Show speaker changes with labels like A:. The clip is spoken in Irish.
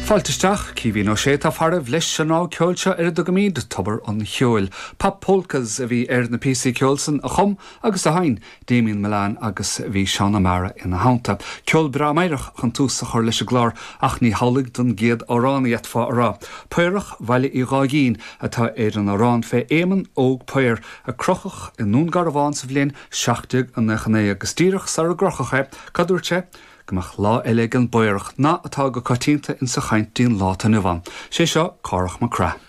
A: Fáilte isteach, Caoimhín Ó Sé atá faraibh leis an rogha ceoil seo ar a dtugaimid Tobar an Cheoil. Pop Polkas a bhí ar na píosaí ceoil san a chum agus a sheinn Damien Mullane agus bhí Seán Ó Meára ina theannta. Ceol breá meidhreach chun tús a chur leis an gclár ach ní hamhlaidh don gcéad amhrán a d'fhéadfá a rá. Paorach Bhaile Uí Gháigín atá ar an amhrán fé Éamonn Óg Paor a crochadh i nDún Garbhán sa bhliain 1799 agus díreach sara gcrochadh é, cad dúirt sé? Go mbeadh lá eile ag an bPaorach, nath atá go coitianta insa chaint dtí'n lá atá inniu ann. Sé seo Cárthach Mac Craith.